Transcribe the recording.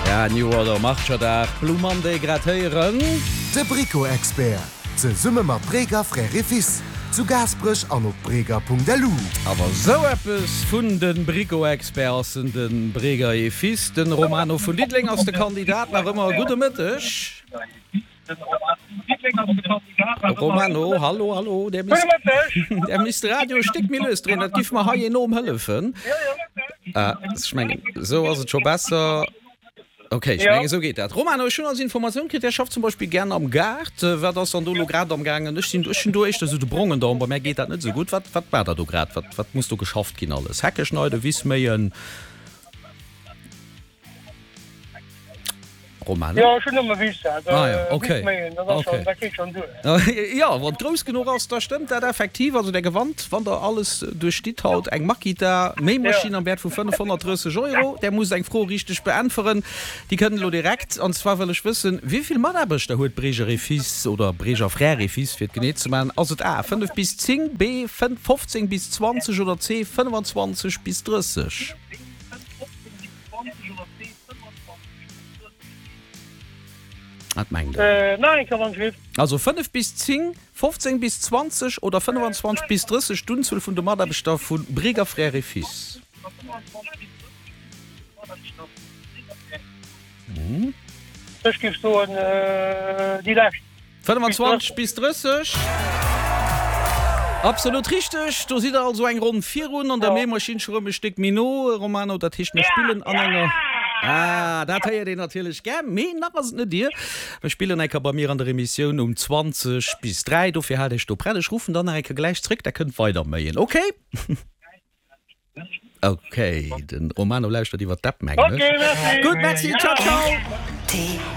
Ja, New Order Marcherdag, Blue Monday grad héieren. De Brico-Expert, zesumme mat Breger Frères et Fils, zu Gaasperech an op breger.lu. Awer sou eppes vun de Brico-Expert ass en, de Breger et Fils. Den Romano vun Diddeleng ass de Kandidat nach ëmmer. Gudde Mëtteg. Romano, hallo, hallo, där misst, där misst de Radio e Stéck méi lues dréinen, dat giff mer hei enorm hëllefen. Ah, ech mengen, esou ass et scho besser. Ok, ech mengen, esou geet dat. Romano, ech hunn als Informatioun kritt, där schafft zum Beispill gären am Gaart. Wat ass dann do elo grad am gaangen? Ech sinn, ech hunn do éischter esou de brongen Daumen, bei mär geet dat net esou gutt. Wat, wat maacht der do grad? Wat, wat muss do geschafft ginn alles? Hecke schneiden, Wiss méien? Romano? Jo, ech hunn nëmme Wiss, also Ah ja, okay. Wiss méien, dat ass Okay. schon, dat geet schon duer. Jo, wann et grouss genuch ass, da stëmmt dat effektiv. Also der gewannt, wann der alles duerchstitt haut, eng Makita Méimaschinn am Wäert vu 530 Euro. Der musst eng Fro richteg beäntweren. Déi kënnt elo direkt. An zwar wëll ech wëssen, Wéi vill Mataarbechter huet Breger et Fils oder Breger Frères et Fils, fir et genee ze maachen? Ass et A, 5 bis 10, B, 15 bis 20 oder C, 25 bis 30? Wat mengt Der? Nach eng Kéier, wann ech giff. Also 5 bis 10, 15 bis 20 oder 25 bis 30, d'Unzuel vun de Mataarbechter vu Breger Frères et Fils. Ech giff soen déi lescht. 25 bis 30. Absolut richteg! Do sidd der also eng Ronn virun an der Méimaschinn scho rëm e Stéck méi no, Romano. Dat heescht, mir spillen an enger. Ah, dat héiert een natierlech gär, mee nach ass et net dir. Mir spillen eng Kéier bei mir an der Emissioun um 20 bis 3. Dofir haalt iech do prett. Ech ruffen dann nach eng Kéier gläich zréck, da kënnt weider méien, okay? Ok, den Romano lauschtert iwwer d'App mengen ech. Ok, merci. Gutt, merci, ciao ciao.